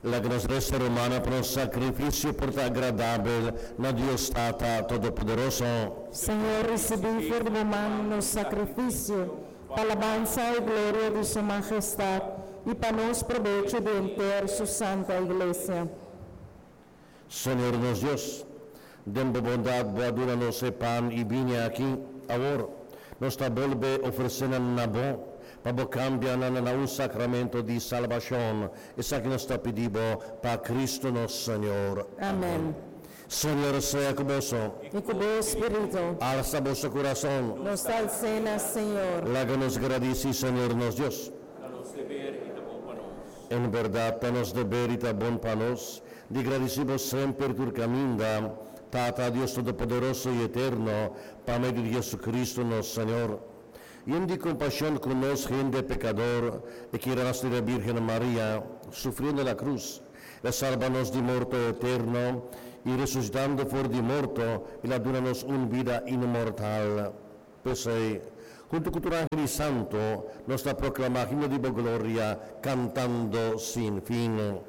Laga nos resa, rumannan, pa nos sakrifisio por ta agradabel na Dios Tata Todopoderoso. Señor, risibí for di bo man nos sakrifisio, pa alabansa i gloria di su mahestat i pa nos probecho di henter su santa Iglesia. Señor nos Dios, den bo bondat bo a duna nos e pan i biña akí, awor, nos ta bolbe ofresé nan na bo, pa bo kambia nan na un sakramento di salbashon. Esaki nos ta pidi bo pa Kristu nos Señor. Amèn. Señor sea ku boso. I ku bo spiritu. Alsa boso kurason. Nos ta als'é na Señor. Laga nos gradisí Señor nos Dios. Ta nos deber i ta bon pa nos. En bèrdat ta nos deber i ta bon pa nos di gradisí bo semper tur kaminda, Tata Dios Todopoderoso i Eterno, pa medio di Jesucristo nos Señor. Yen di kompashon ku nos hende pekador, e kier a nase di la Bírgen Maria, sufriendo na krus, el a salba nos di morto eterno i resusitando for di morto, el a duna nos un bida inmortal. P'esei, huntu ku tur ángel i santu, nos ta proklamá himno di bo gloria, kantando sin fin.